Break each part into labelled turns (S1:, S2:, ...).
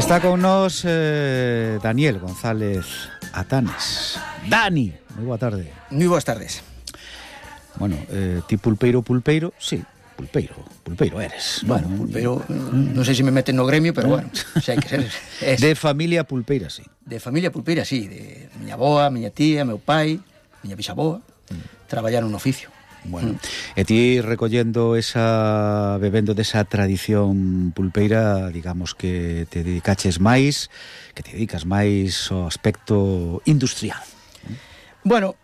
S1: Está con nós Daniel González Atanes. Dani, moi boa tarde.
S2: Moi boas tardes.
S1: Bueno, ti pulpeiro, sí, pulpeiro eres.
S2: Bueno, pulpeiro, non sei se me meten no gremio, pero bueno, sei que ser.
S1: De familia pulpeira, sí.
S2: De familia pulpeira, sí, de miña aboa, miña tía, meu pai, miña bisaboa, traballaron no oficio.
S1: Bueno, e ti recollendo esa, bebendo desa tradición pulpeira, digamos que te dedicas máis ao aspecto industrial.
S2: Bueno,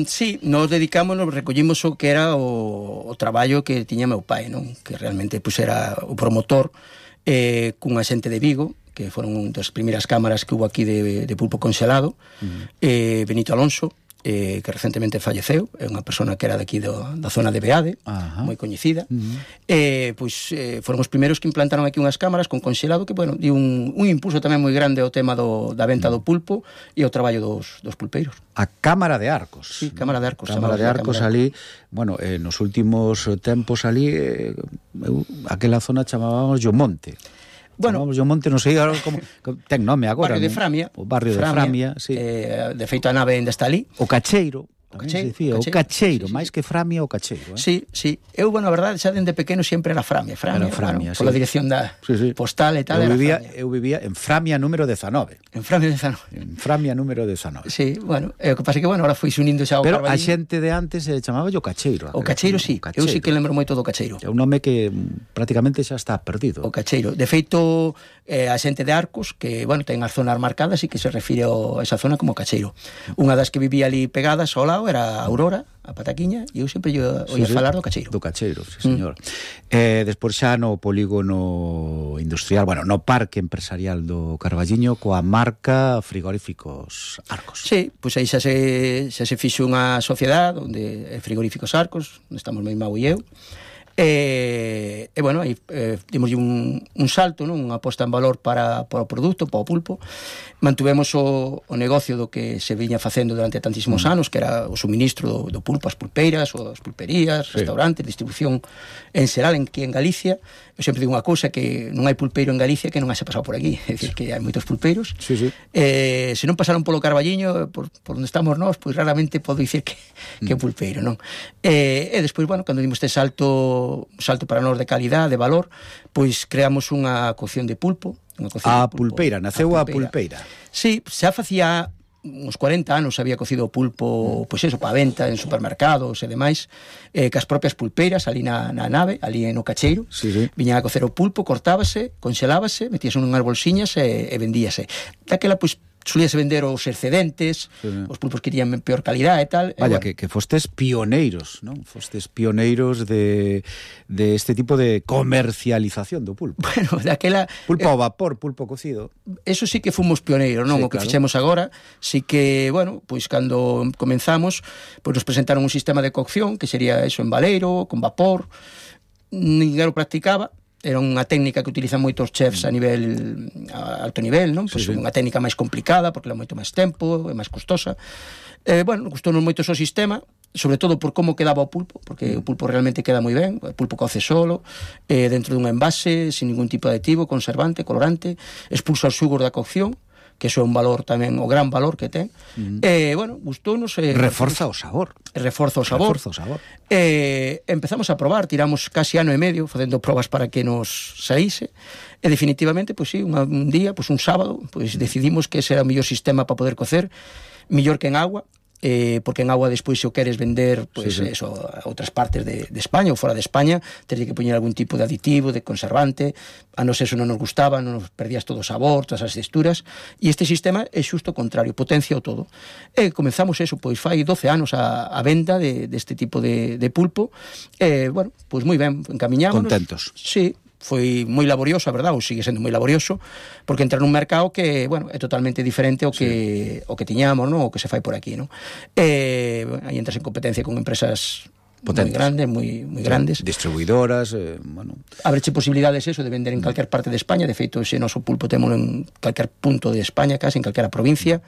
S2: sí, nos dedicámonos, recollimos o que era o traballo que tiña meu pai, non? Que realmente pues, era o promotor cunha xente de Vigo, que foron das primeiras cámaras que hubo aquí de pulpo congelado, Benito Alonso, que recentemente falleceu, é unha persona que era daqui da zona de Beade, moi coñecida, pois foron os primeiros que implantaron aquí unhas cámaras con conxelado que, bueno, di un impulso tamén moi grande ao tema da venta do pulpo e ao traballo dos pulpeiros.
S1: A Cámara de Arcos.
S2: Sí, Cámara de Arcos.
S1: Cámara de Arcos ali, bueno, nos últimos tempos ali, aquela zona chamábamos Monte.
S2: Bueno,
S1: o Monte, non sei como ten nome agora.
S2: Barrio de Framia.
S1: O barrio de Framia, sí.
S2: De feito a nave ainda está ali.
S1: O Cacheiro. O Cacheiro, máis que Framia, o Cacheiro.
S2: Sí, sí. Eu, bueno, a verdade, xa dende pequeno sempre era Framia,
S1: bueno,
S2: pola dirección da postal e tal.
S1: Eu vivía en Framia número 19.
S2: En Framia 19.
S1: En Framia número 19.
S2: Sí, bueno, o que pasa que, bueno, ahora foi unindo xa o
S1: Pero
S2: Carballiño.
S1: A xente de antes chamaba o Cacheiro.
S2: O Cacheiro, sí. Eu sí que lembro moito do Cacheiro.
S1: É un nome que prácticamente xa está perdido.
S2: O Cacheiro. De feito, a xente de Arcos, que, bueno, ten as zonas marcadas e que se refire a esa zona como Cacheiro. Unha das que vivía ali pegadas ao lado era Aurora, a Pataquiña, e eu sempre oía falar do Cacheiro.
S1: Do Cacheiro, sí, señor. Despois xa no polígono industrial, bueno, no parque empresarial do Carballiño, coa marca Frigoríficos Arcos.
S2: Sí, pois aí xa se fixo unha sociedade onde Frigoríficos Arcos, onde estamos meu irmão e eu, e bueno, aí dimos un salto, non? Unha aposta en valor para o produto, para o pulpo. Mantuvemos o negocio do que se viña facendo durante tantísimos anos, que era o suministro do pulpo ás pulpeiras, ou as pulperías, restaurantes, distribución en xeral aquí en Galicia. Eu sempre digo unha cousa, que non hai pulpeiro en Galicia que non haxe pasado por aquí, é dicir, que hai moitos pulpeiros. Se non pasaron polo Carballiño, por onde estamos nós, pois raramente podo dicir que é pulpeiro, non? E despois, bueno, cando dimos este salto para nós de calidade, de valor, pois creamos unha cocción de pulpo.
S1: A pulpeira, naceu a pulpeira.
S2: Sí, xa facía uns 40 anos había cocido o pulpo, pois eso, para venta en supermercados e demais, cas propias pulpeiras ali na nave, ali no Cacheiro. Viñan a cocer o pulpo, cortábase, conxelábase, metíase nunhas bolsiñas e vendíase. Daquela, pois, solíase vender os excedentes, os pulpos que tiñan peor calidad e tal.
S1: Vaya, que fostes pioneiros, non? Fostes pioneiros de este tipo de comercialización do pulpo.
S2: Bueno, daquela...
S1: Pulpo ao vapor, pulpo cocido.
S2: Eso sí que fomos pioneiros, non? O que fixemos agora, sí que, bueno, pois cando comenzamos, pois nos presentaron un sistema de cocción, que sería eso en baleiro, con vapor, ninguén o practicaba. Era unha técnica que utilizan moitos chefs a alto nivel, non? Pois unha técnica máis complicada, porque leva moito máis tempo, é máis costosa. Bueno, gustounos moito o seu sistema, sobre todo por como quedaba o pulpo, porque o pulpo realmente queda moi ben, o pulpo coce solo, dentro dun envase, sin ningún tipo de aditivo, conservante, colorante, expulsa os xugos da cocción, que iso é un valor tamén, o gran valor que ten. Bueno, gustounos...
S1: Reforza o sabor.
S2: Reforza o sabor. Empezamos a probar, tiramos casi ano e medio facendo probas para que nos saíse, e definitivamente, pois sí, un día, pois un sábado, pois decidimos que ese era o mellor sistema para poder cocer, mellor que en agua, porque en agua despois se o queres vender pois eso, a outras partes de España ou fora de España, teres que poñer algún tipo de aditivo, de conservante. A nos eso non nos gustaba, non nos perdías todo o sabor, todas as texturas, e este sistema é xusto o contrario, potencia o todo. E comenzamos eso, pois fai 12 anos a venda deste tipo de pulpo, bueno, pois moi ben, encamiñámonos.
S1: Contentos.
S2: Sí, foi moi laborioso, a verdade, ou sigue sendo moi laborioso, porque entra nun mercado que, bueno, é totalmente diferente ao que tiñamos, non? O que se fai por aquí, non? Aí entras en competencia con empresas moi grandes, moi grandes.
S1: Distribuidoras, bueno.
S2: Abreche posibilidades eso de vender en calquer parte de España, de feito, ese noso pulpo témolo en calquer punto de España, casi en calquera provincia.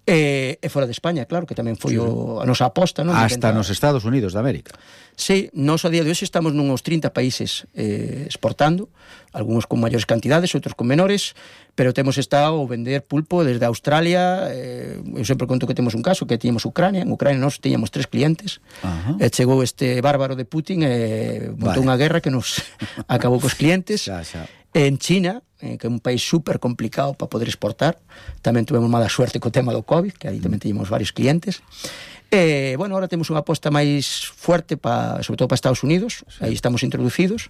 S2: e fora de España, claro, que tamén foi a nosa aposta, non?
S1: Hasta nos Estados Unidos de América.
S2: Sí, nós a día de hoxe estamos nuns 30 países exportando, algúns con maiores cantidades, outros con menores, pero temos estado a vender pulpo desde Australia. Eu sempre conto que temos un caso, que tiñamos Ucrania. En Ucrania nós tiñamos 3 clientes, e chegou este bárbaro de Putin e montou unha guerra que nos acabou cos clientes. En China, que é un país super complicado para poder exportar, tamén tuvemos mala suerte co tema do COVID, que aí tamén teníamos varios clientes. Bueno, ahora temos unha aposta máis fuerte sobre todo para Estados Unidos, aí estamos introducidos.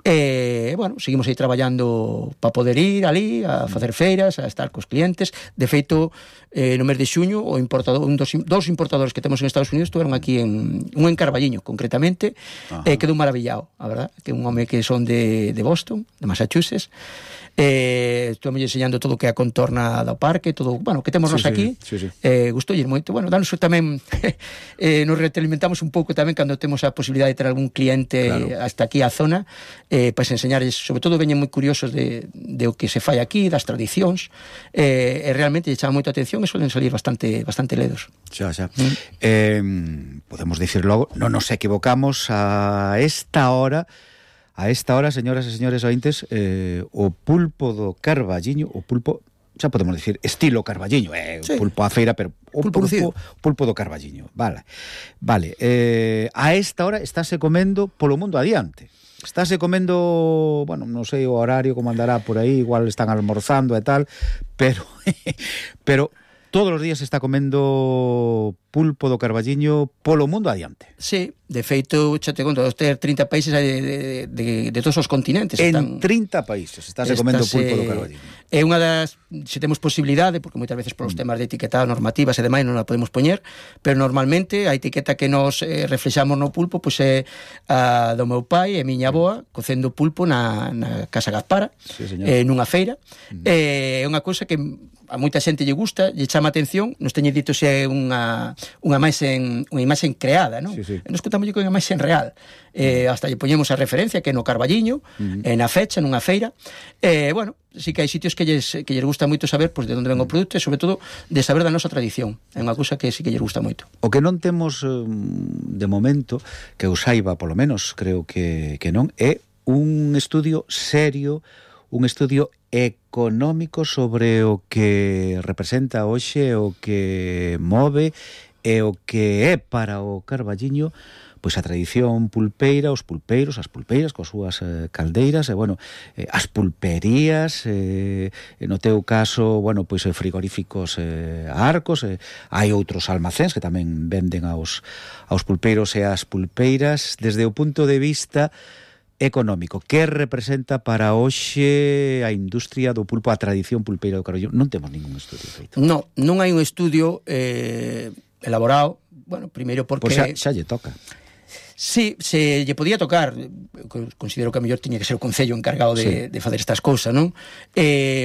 S2: Bueno, seguimos aí traballando para poder ir ali a facer feiras, a estar cos clientes. De feito, no mes de xuño dos importadores que temos en Estados Unidos estuveron aquí un en Carballiño, concretamente, quedou maravillado, a verdad, que un home que son de Boston, de Massachusetts. Estamos enseñando todo o que é a contorna do parque, todo, bueno, que temos nos aquí. Gustoulle moito. Bueno, danos tamén nos retroalimentamos un pouco tamén cando temos a posibilidade de ter algún cliente hasta aquí á zona, para enseñarles, sobre todo veñen moi curiosos de o que se fai aquí, das tradicións, e realmente lle chama moita atención e suelen salir bastante ledos.
S1: Podemos dicir logo, non nos equivocamos a esta hora, señoras e señores ointes, o pulpo do Carballiño, o pulpo, xa podemos dicir, estilo Carballiño, pulpo a feira, pero o pulpo do Carballiño, vale. A esta hora estáse comendo polo mundo adiante. Estáse comendo, bueno, non sei o horario como andará por aí, igual están almorzando e tal, pero todos os días se está comendo pulpo do Carballiño polo mundo adiante.
S2: Sí, de feito, xa te conto, ter 30 países de todos os continentes.
S1: En 30 países estáse comendo pulpo do Carballiño.
S2: É unha das, se temos posibilidade, porque moitas veces polos temas de etiquetado, normativas e demais non a podemos poñer, pero normalmente a etiqueta que nos reflexamos no pulpo pois é a do meu pai e miña avoa cocendo pulpo na Casa Gaspara, nunha feira. É unha cousa que a moita xente lle gusta, lle chama atención, nos teñe dito se é unha imaxen creada, non? Nos contamos que é unha imaxen real. Hasta lle poñemos a referencia que é no Carballiño, na fecha, nunha feira. Bueno, sí que hai sitios que lles gusta moito saber de onde ven o produto e, sobre todo, de saber da nosa tradición. É unha cousa que sí que lles gusta moito.
S1: O que non temos de momento, que eu saiba, polo menos, creo que non, é un estudio serio, un estudio económico sobre o que representa hoxe, o que move e o que é para o Carballiño pois a tradición pulpeira, os pulpeiros, as pulpeiras coas súas caldeiras, e bueno, as pulperías, no teu caso, bueno, pois frigoríficos Arcos, hai outros almacéns que tamén venden aos pulpeiros e as pulpeiras. Desde o punto de vista económico, que representa para hoxe a industria do pulpo, a tradición pulpeira do Carballiño? Non temos ningún estudio feito.
S2: Non hai un estudio elaborado, bueno, primeiro porque...
S1: Pois xa lle toca.
S2: Sí, se lle podía tocar, considero que a mellor tiña que ser o Concello encargado de facer estas cousas, non?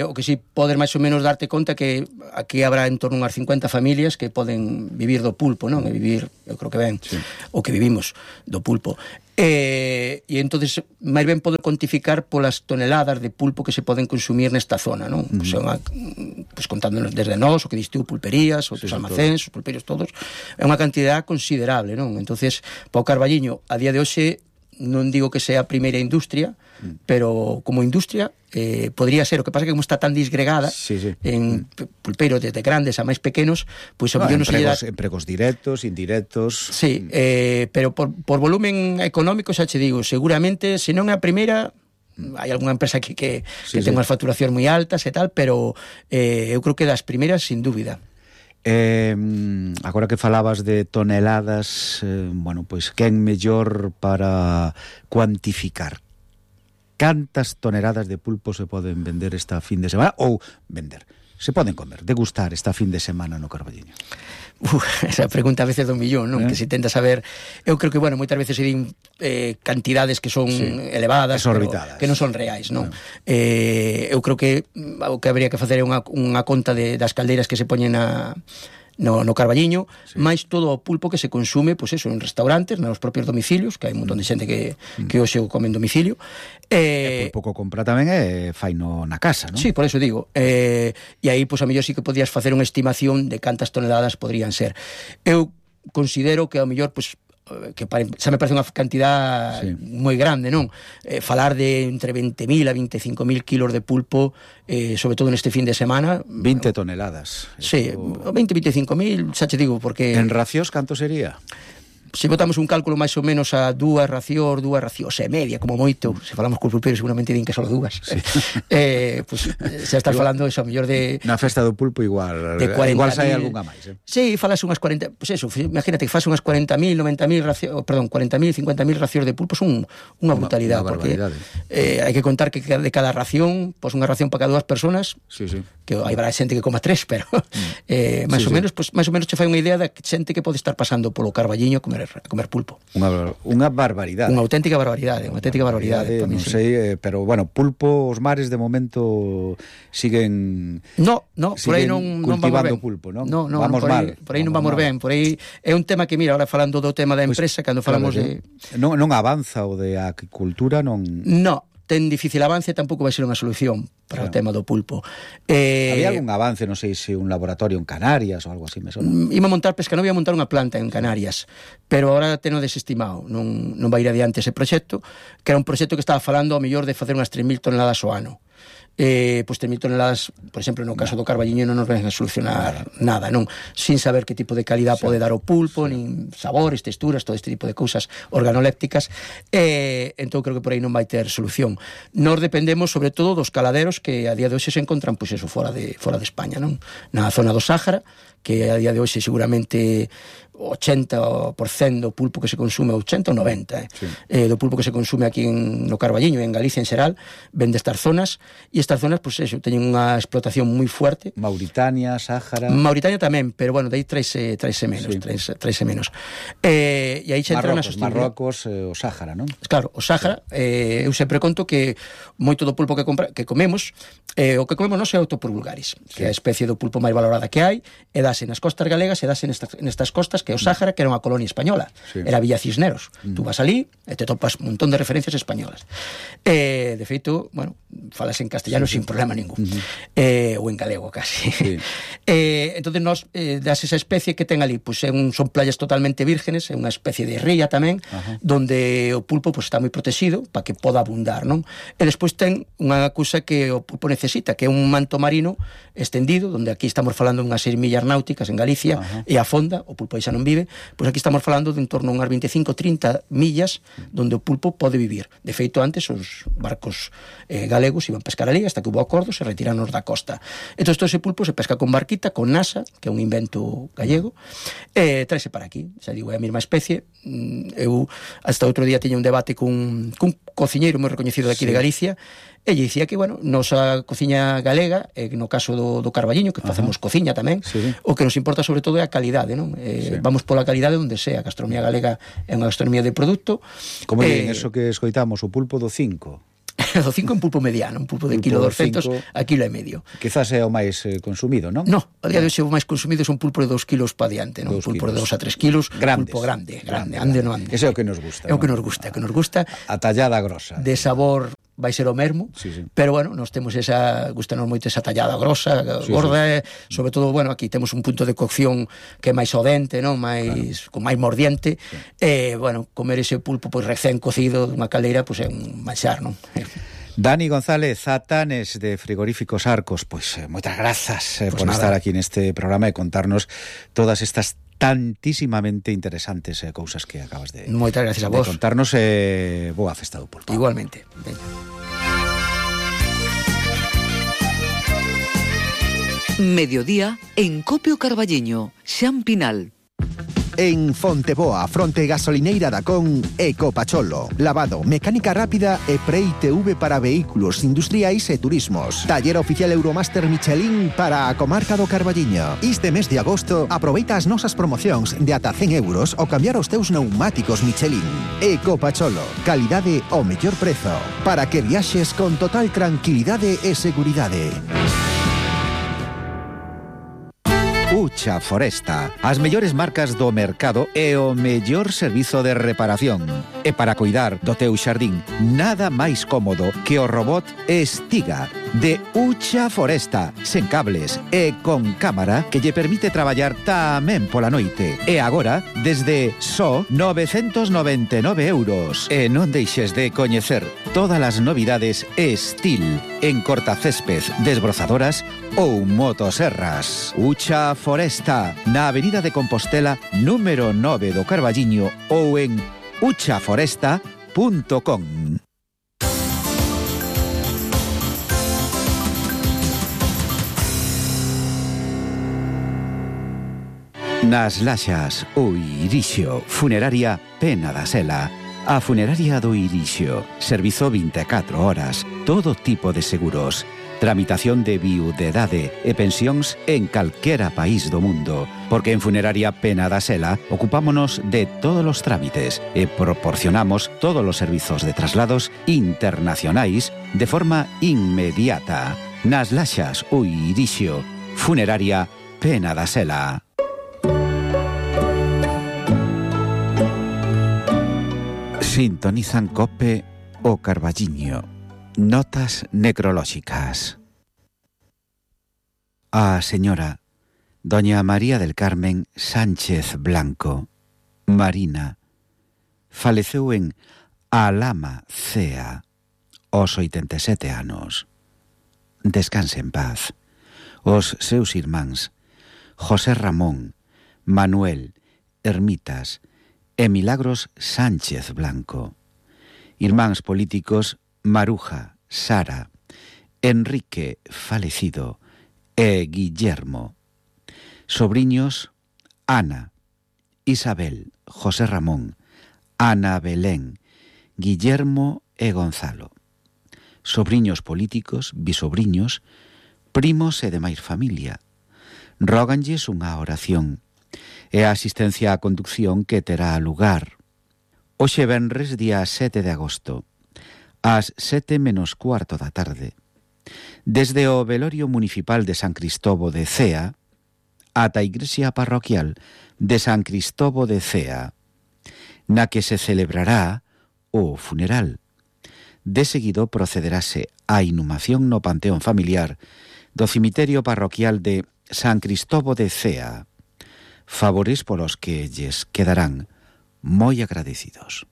S2: O que si podes máis ou menos darte conta que aquí habrá en torno a unhas 50 familias que poden vivir do pulpo, non? E vivir, eu creo que ben, o que vivimos do pulpo. E entonces máis ben poder cuantificar polas toneladas de pulpo que se poden consumir nesta zona, non? Pois contándonos desde nós, o que distiu pulperías, outros almacéns, os pulperios todos, é unha cantidad considerable, non? Entonces, para o Carballiño, a día de hoxe, non digo que sea a primeira industria, pero como industria podría ser. O que pasa que como está tan disgregada en pulpeiros desde grandes a máis pequenos, pois
S1: empregos directos, indirectos.
S2: Sí, pero por volumen económico, xa che digo, seguramente, se non é a primeira, hai algunha empresa que ten unhas facturacións moi altas e tal, pero eu creo que das primeiras, sin dúbida.
S1: Agora que falabas de toneladas, bueno, pois quen mellor para cuantificar cantas toneladas de pulpo se poden vender esta fin de semana, ou se poden comer, degustar esta fin de semana no Carballiño?
S2: Esa pregunta a veces do millón, non? Que se tenta saber. Eu creo que, bueno, moitas veces se din cantidades que son elevadas,
S1: exorbitadas,
S2: que non son reais, non? Eu creo que o que habría que facer é unha conta das caldeiras que se poñen no Carballiño, máis todo o pulpo que se consume, pois eso, en restaurantes, nos propios domicilios, que hai un montón de xente que hoxe o come en domicilio.
S1: E pulpo que compra tamén faino na casa, non?
S2: Sí, por eso digo. E aí, pois, a mellor sí que podías facer unha estimación de cantas toneladas podrían ser. Eu considero que a mellor, pois, que xa me parece unha cantidad moi grande, non? Falar de entre 20.000 a 25.000 kilos de pulpo, sobre todo neste fin de semana.
S1: 20 toneladas.
S2: Sí, 20-25.000, xa te digo, porque...
S1: En racións, canto sería?
S2: Se botamos un cálculo máis ou menos a dúas racións e media, como moito, se falamos con pulpeiro seguramente din que só dúas. Sí. Pues, xa estás falando eso, a mellor de...
S1: Na festa do pulpo igual sai algunha máis.
S2: Sí, falas unhas 40... Pues eso, imagínate que fas unhas 40.000, 90.000 racións, perdón, 40.000, 50.000 racións de pulpo, son unha brutalidade, porque hai que contar que de cada ración, pues unha ración para cada 2 personas, que hai xente que coma 3, pero máis ou menos, pues máis ou menos che fai unha idea da xente que pode estar pasando polo Carballiño a comer pulpo.
S1: Unha barbaridade.
S2: Unha auténtica barbaridade,
S1: non sei, pero bueno, pulpo, os mares de momento siguen
S2: por aí non
S1: cultivando pulpo, non?
S2: Vamos mal. Por aí non vamos ben, por aí é un tema que, mira, ahora falando do tema da empresa, cando falamos de...
S1: Non avanza o de aquicultura, non...
S2: No, ten difícil avance, tampouco vai ser unha solución para o tema do pulpo.
S1: Había algún avance, non sei se un laboratorio en Canarias ou algo así, me sona.
S2: Iba a montar Pescanova, ia montar unha planta en Canarias, pero agora teno desestimado, non vai ir adiante ese proxecto, que era un proxecto que estaba falando ao mellor de facer unhas 3.000 toneladas ao ano. Pois 3.000 toneladas, por exemplo, no caso do Carballiño non nos ven a solucionar nada, non? Sin saber que tipo de calidad pode dar o pulpo, nin sabores, texturas, todo este tipo de cousas organolépticas. Entón creo que por aí non vai ter solución. Nós dependemos sobre todo dos caladeros que a día de hoxe se encontran, pois eso, fora de España, non? Na zona do Sáhara, que a día de hoxe seguramente 80% do pulpo que se consume, 80 ou 90 do pulpo que se consume aquí no Carballiño e en Galicia en xeral, ven destas zonas, e estas zonas, pois eso, teñen unha explotación moi fuerte.
S1: Mauritania, Sáhara...
S2: Mauritania tamén, pero bueno, de aí traese menos. E aí xa entran as
S1: Marrocos, o Sáhara, non?
S2: Claro, o Sáhara, eu sempre conto que moito do pulpo que comemos, o que comemos non é Autopus vulgaris, que é a especie do pulpo máis valorada que hai, e dase nas costas galegas e dase nestas costas, que é o Sáhara, que era unha colonia española, era Villa Cisneros. Tú vas ali e te topas un montón de referencias españolas. De feito, bueno, falas en castellano sin problema ningún, ou en galego casi. Entonces nós, das esa especie que ten ali, pues, son playas totalmente vírgenes, é unha especie de ría tamén, donde o pulpo pues, está moi protegido para que poda abundar, non? E despois ten unha cousa que o pulpo necesita, que é un manto marino extendido, donde aquí estamos falando de unhas 6 millas náuticas en Galicia, e a fonda, o pulpo aí xa non vive, pois aquí estamos falando de en torno a unhas 25-30 millas donde o pulpo pode vivir. De feito, antes os barcos galegos iban pescar ali hasta que hubo acordos e retiranos da costa. Entón, ese pulpo se pesca con barquita, con nasa, que é un invento gallego, e traese para aquí. Xa digo, é a mesma especie. Eu hasta outro día tiña un debate cun cociñeiro moi reconhecido de aquí de Galicia, e lle dicía que, bueno, nosa cociña galega, no caso do Carballiño, que facemos cociña tamén, o que nos importa sobre todo é a calidade, non? Vamos pola calidade onde sea. A gastronomía galega é unha gastronomía de produto.
S1: Como en eso que escoitamos, o pulpo do 5?
S2: Do 5 é un pulpo mediano, un pulpo de kilo 200 a kilo e medio.
S1: Quizás é o máis consumido, non?
S2: No, a día de hoxe o máis consumido é un pulpo de 2 kilos para diante, non? Un pulpo de 2 a 3 kilos, pulpo grande, ande non ande.
S1: Ese é o que nos gusta.
S2: É o que nos gusta,
S1: A tallada grosa.
S2: De sabor vai ser o mesmo, pero bueno, nós temos gustanos moito esa tallada grosa, gorda, sobre todo, bueno, aquí temos un punto de cocción que é máis ao dente, non? Con máis mordiente, e, bueno, comer ese pulpo pois recén cocido dunha caldeira, pois é un manxar, non?
S1: Dani González Zatanes de Frigoríficos Arcos, pois moitas grazas por estar aquí neste programa e contarnos todas estas tantísimamente interesantes cousas que acabas de
S2: moitas gracias a vos.
S1: De contarnos. Boa festa do pulpo.
S2: Igualmente.
S3: Mediodía en Copio Carballiño, Xan Pinal.
S4: En Fonteboa, fronte gasolineira da Con, Ecopacholo. Lavado, mecánica rápida e pre-ITV para vehículos industriais e turismos. Taller oficial Euromaster Michelin para a comarca do Carballiño. Este mes de agosto, aproveita as nosas promocións de ata 100 euros ao cambiar os teus pneumáticos Michelin. Ecopacholo, calidade ao mellor prezo, para que viaxes con total tranquilidade e seguridade.
S1: Ucha Foresta. As mellores marcas do mercado e o mellor servizo de reparación. E para cuidar do teu xardín, nada máis cómodo que o robot Estiga de Ucha Foresta, sen cables e con cámara que lle permite traballar tamén pola noite. E agora, desde só 999 euros. E non deixes de coñecer todas as novidades Estil en cortacésped, desbrozadoras ou motoserras. Ucha Foresta, na Avenida de Compostela, número 9 do Carballiño ou en uchaforesta.com. Nas Laxas, o Irixio, Funeraria Pena da Sela. A Funeraria do Irixio, servizo 24 horas, todo tipo de seguros, tramitación de viudedade e pensións en calquera país do mundo, porque en Funeraria Pena da Sela ocupámonos de todos os trámites e proporcionamos todos os servizos de traslados internacionais de forma inmediata. Nas Laxas, o Irixio, Funeraria Pena da Sela. Sintonizan COPE o Carballiño. Notas necrolóxicas. A señora doña María del Carmen Sánchez Blanco, Marina, faleceu en Alhama Cea aos 87 anos. Descanse en paz. Os seus irmáns José Ramón, Manuel, Ermitas e Milagros Sánchez Blanco. Irmáns políticos Maruja, Sara, Enrique falecido e Guillermo. Sobriños Ana, Isabel, José Ramón, Ana Belén, Guillermo e Gonzalo. Sobriños políticos, bisobriños, primos e demais familia. Róganlles unha oración e a asistencia á conducción que terá lugar hoxe venres día 7 de agosto ás 7 menos cuarto da tarde desde o velorio municipal de San Cristobo de Cea ata a igrexa parroquial de San Cristobo de Cea, na que se celebrará o funeral. De seguido procederase á inhumación no panteón familiar do cemiterio parroquial de San Cristobo de Cea, favores polos que lles quedarán moi agradecidos.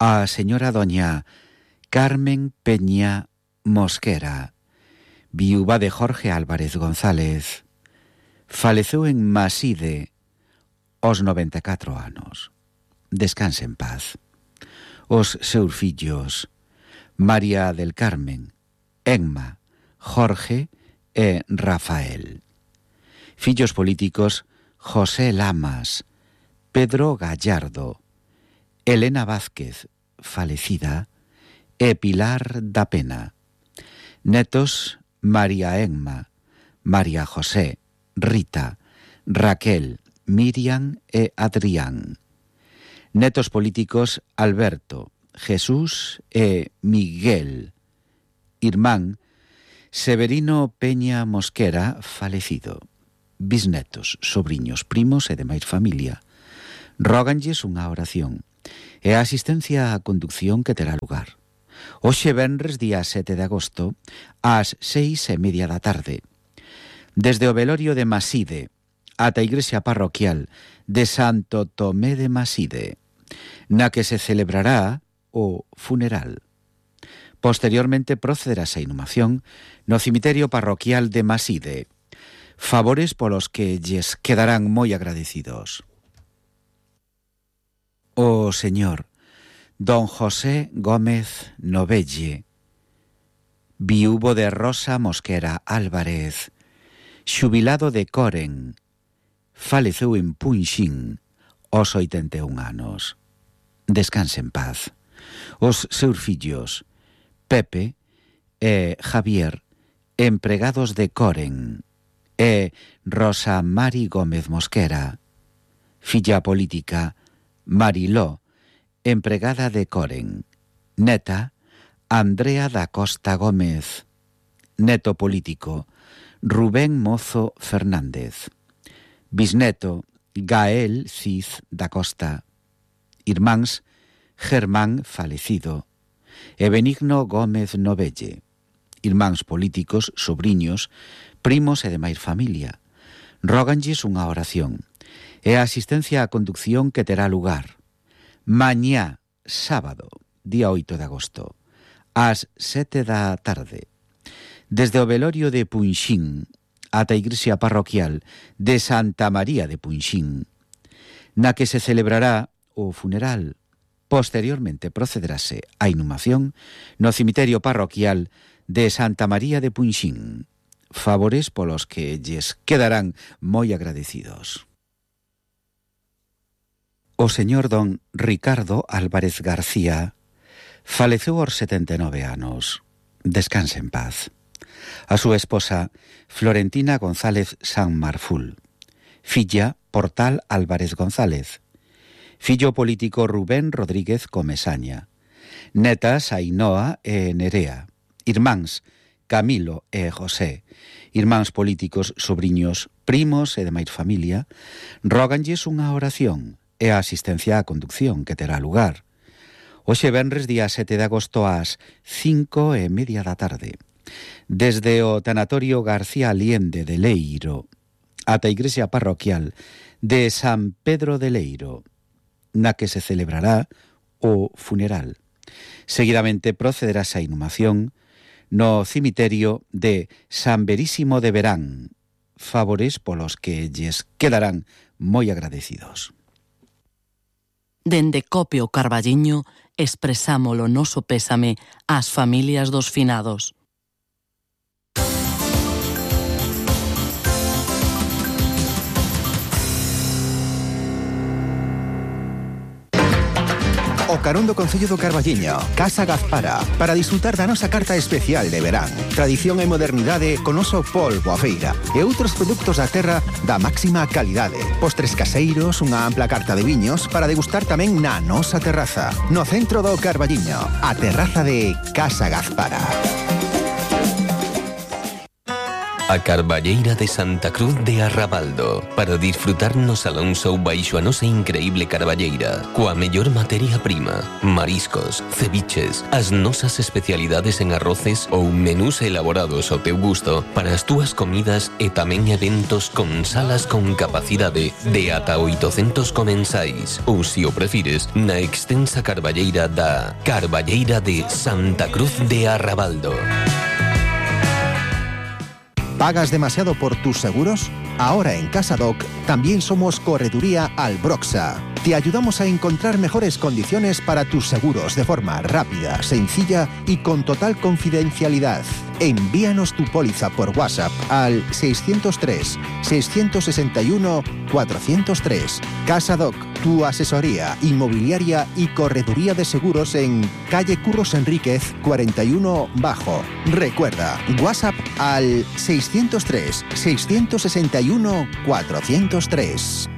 S1: A señora doña Carmen Peña Mosquera, viúva de Jorge Álvarez González, faleceu en Maside aos 94 anos. Descanse en paz. Os seus fillos María del Carmen, Emma, Jorge e Rafael. Fillos políticos José Lamas, Pedro Gallardo, Elena Vázquez, falecida, e Pilar da Pena. Netos María Emma, María José, Rita, Raquel, Miriam e Adrián. Netos políticos Alberto, Jesús e Miguel. Irmán Severino Peña Mosquera, falecido. Bisnetos, sobriños, primos e demais familia. Róganlles unha oración e a asistencia á conducción que terá lugar hoxe venres día 7 de agosto ás 6:30 da tarde desde o velorio de Maside ata a igrexa parroquial de Santo Tomé de Maside, na que se celebrará o funeral. Posteriormente procederase a inhumación no cemiterio parroquial de Maside, favores polos que lles quedarán moi agradecidos. O señor don José Gómez Novelle, viúvo de Rosa Mosquera Álvarez, xubilado de Coren, faleceu en Punxín aos 81 anos. Descanse en paz. Os seus fillos Pepe e Javier, empregados de Coren, e Rosa Mari Gómez Mosquera, filla política Mariló, empregada de Coren. Neta Andrea da Costa Gómez. Neto político Rubén Mozo Fernández. Bisneto, Gael Cid da Costa. Irmáns, Germán Falecido e Benigno Gómez Novelle. Irmáns políticos, sobriños, primos e demais familia. Róganlles unha oración e a asistencia á conducción que terá lugar mañá, sábado, día 8 de agosto, ás 7 da tarde, desde o velorio de Punxín ata a igrexa parroquial de Santa María de Punxín, na que se celebrará o funeral. Posteriormente procederase a inhumación no cemiterio parroquial de Santa María de Punxín. Favores polos que lles quedarán moi agradecidos. O señor don Ricardo Álvarez García faleceu aos 79 anos. Descanse en paz. A súa esposa, Florentina González San Marful. Filla, Portal Álvarez González. Fillo político Rubén Rodríguez Comesaña. Netas Ainhoa e Nerea. Irmáns Camilo e José. Irmáns políticos, sobriños, primos e demais familia. Róganlles unha oración e a asistencia á conducción que terá lugar hoxe venres día 7 de agosto ás 5:30 da tarde, desde o tanatorio García Aliende de Leiro ata a igrexa parroquial de San Pedro de Leiro, na que se celebrará o funeral. Seguidamente procederase a inhumación no cemiterio de San Verísimo de Verán. Favores polos que lles quedarán moi agradecidos.
S5: Dende Copio Carballiño expresamos o noso pésame ás familias dos finados.
S4: O carón do Concello do Carballiño, Casa Gazpara, para disfrutar da nosa carta especial de verán. Tradición e modernidade con oso polvo a feira e outros produtos da terra da máxima calidade. Postres caseiros, unha ampla carta de viños para degustar tamén na nosa terraza. No centro do Carballiño, a terraza de Casa Gazpara.
S6: A Carballeira de Santa Cruz de Arrabaldo, para disfrutar no Salón Show baixo a nosa increíble carballeira, coa mellor materia prima, mariscos, ceviches, as nosas especialidades en arroces ou menús elaborados ao teu gusto para as túas comidas e tamén eventos con salas con capacidade de ata 800 comensais, ou se o prefires, na extensa carballeira da Carballeira de Santa Cruz de Arrabaldo.
S4: ¿Pagas demasiado por tus seguros? Ahora en CasaDoc también somos Correduría Albroxa. Te ayudamos a encontrar mejores condiciones para tus seguros de forma rápida, sencilla y con total confidencialidad. Envíanos tu póliza por WhatsApp al 603-661-403. CasaDoc, tu asesoría inmobiliaria y correduría de seguros en calle Curros Enríquez 41 Bajo. Recuerda, WhatsApp al 603-661-403.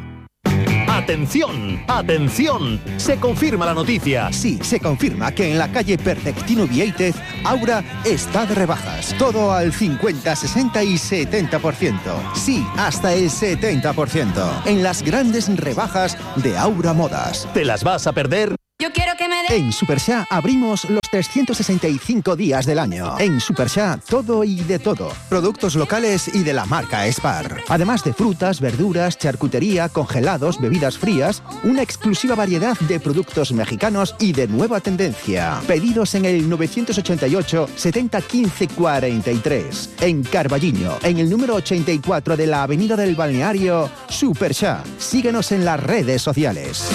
S7: ¡Atención! ¡Atención! Se confirma la noticia.
S4: Sí, se confirma que en la calle Perfectino Vieitez, Aura está de rebajas. Todo al 50, 60 y 70%. Sí, hasta el 70%. En las grandes rebajas de Aura Modas.
S7: ¿Te las vas a perder?
S8: Yo quiero que me den.
S4: En Superxá abrimos los 365 días del año. En Superxá, todo y de todo. Productos locales y de la marca Spar. Además de frutas, verduras, charcutería, congelados, bebidas frías, una exclusiva variedad de productos mexicanos y de nueva tendencia. Pedidos en el 988 70 15 43. En Carballiño, en el número 84 de la Avenida del Balneario, Superxá. Síguenos en las redes sociales.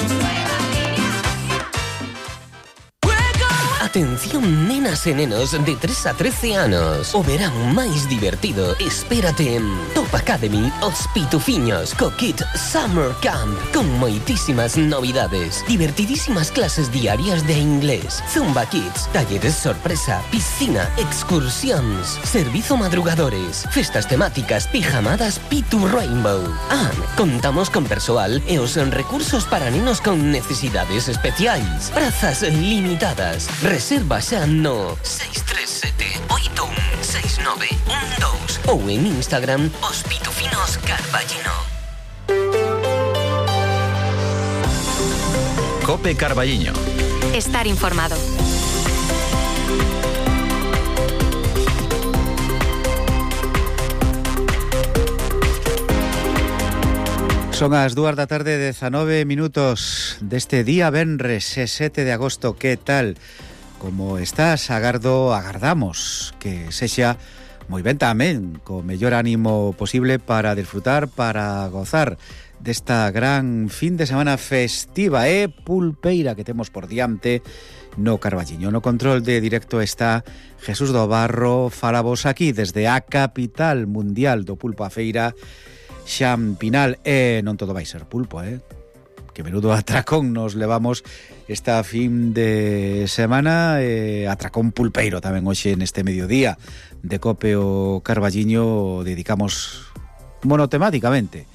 S6: Atención nenas e nenos de 3 a 13 anos. O verán máis divertido espérate en Top Academy Os Pitufiños co Kit Summer Camp, con moitísimas novidades, divertidísimas clases diarias de inglés, Zumba Kids, talleres sorpresa, piscina, excursións, servizo madrugadores, festas temáticas, pijamadas Pitu Rainbow. Contamos con persoal e os recursos para nenos con necesidades especiais. Prazas limitadas. Reserva xa no 637 816912 ou en Instagram Os Pitufinos Carballino.
S8: Cope Carballiño.
S9: Estar informado.
S1: Son as 2 da tarde, 19 minutos deste día venres, 7 de agosto. Que tal? Como estás? Agardamos que sexa moi ben tamén, co mellor ánimo posible para disfrutar, para gozar desta gran fin de semana festiva e pulpeira que temos por diante no Carballiño. No control de directo está Jesús do Barro. Falamos aquí desde a capital mundial do pulpo a feira, Xampinal. E non todo vai ser pulpo, que menudo atracón nos levamos esta fin de semana, atracón pulpeiro tamén hoxe neste mediodía de Cope o Carballiño. Dedicamos monotemáticamente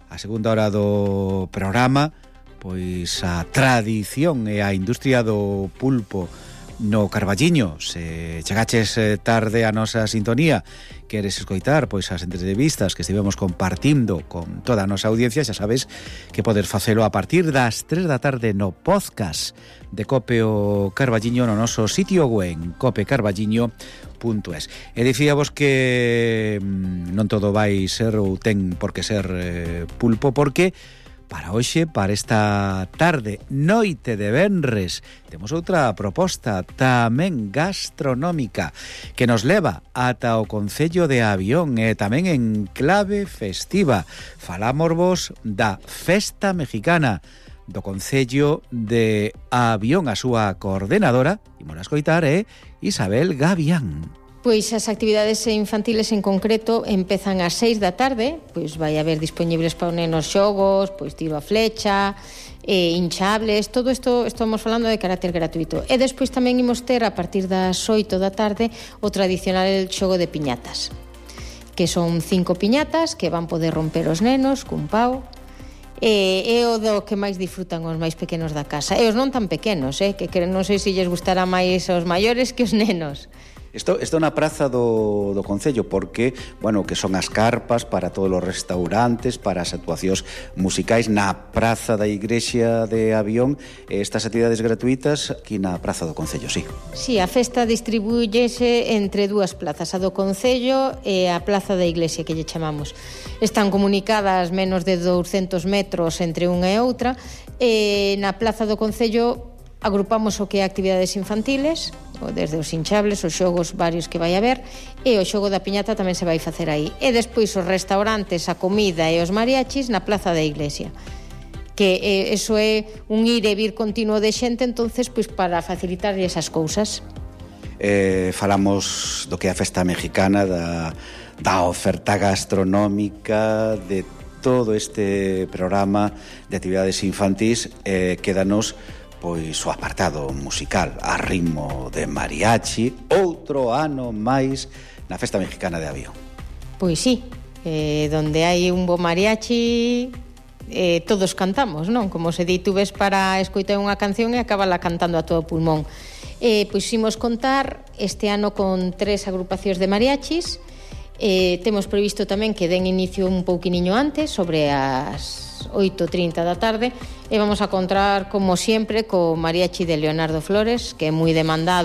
S1: a segunda hora do programa pois a tradición e a industria do pulpo no Carballiño. Se chegaches tarde a nosa sintonía, queres escoitar pois as entrevistas que estivemos compartindo con toda a nosa audiencia, xa sabes que podes facelo a partir das 3 da tarde no podcast de Cope o Carballiño no noso sitio web copecarballiño.es. E dicíamos que non todo vai ser ou ten por que ser pulpo, porque para hoxe, para esta tarde, noite de venres, temos outra proposta tamén gastronómica que nos leva ata o concello de Avión e tamén en clave festiva. Falámosvos da Festa Mexicana do concello de Avión. A súa coordenadora, imos a escoitar, Isabel Gavián.
S10: Pois as actividades infantiles en concreto empezan ás 6 da tarde, pois vai haber disponibles para os nenos xogos, pois tiro a flecha, hinchables, todo isto estamos falando de carácter gratuito. E despois tamén imos ter a partir das 8 da tarde o tradicional xogo de piñatas, que son 5 piñatas que van poder romper os nenos cun pau. É o do que máis disfrutan os máis pequenos da casa. E os non tan pequenos, que non sei se lles gustará máis aos maiores que os nenos.
S1: Isto é na praza do concello, porque, bueno, que son as carpas para todos os restaurantes, para as actuacións musicais na praza da igrexa de Avión, estas actividades gratuitas aquí na praza do concello, sí.
S10: Sí, a festa distribúyese entre dúas plazas, a do concello e a plaza da iglesia, que lle chamamos. Están comunicadas menos de 200 metros entre unha e outra, e na plaza do concello agrupamos o que é actividades infantiles, desde os hinchables, os xogos varios que vai haber, e o xogo da piñata tamén se vai facer aí. E despois os restaurantes, a comida e os mariachis na plaza da iglesia, que eso é un ir e vir continuo de xente, entonces pois para facilitar esas cousas.
S1: Falamos do que é a Festa Mexicana, da oferta gastronómica, de todo este programa de actividades infantís. Quédanos pois o apartado musical a ritmo de mariachi, outro ano máis na Festa Mexicana de Avión.
S10: Pois sí, donde hai un bo mariachi, todos cantamos, non? Como se di, tú ves para escoitar unha canción e acabala cantando a todo pulmón. Pois imos contar este ano con 3 agrupacións de mariachis. Temos previsto tamén que den inicio un pouquiniño antes, sobre as 8:30 da tarde, e vamos a contar, como sempre, co mariachi de Leonardo Flores, que é moi demandado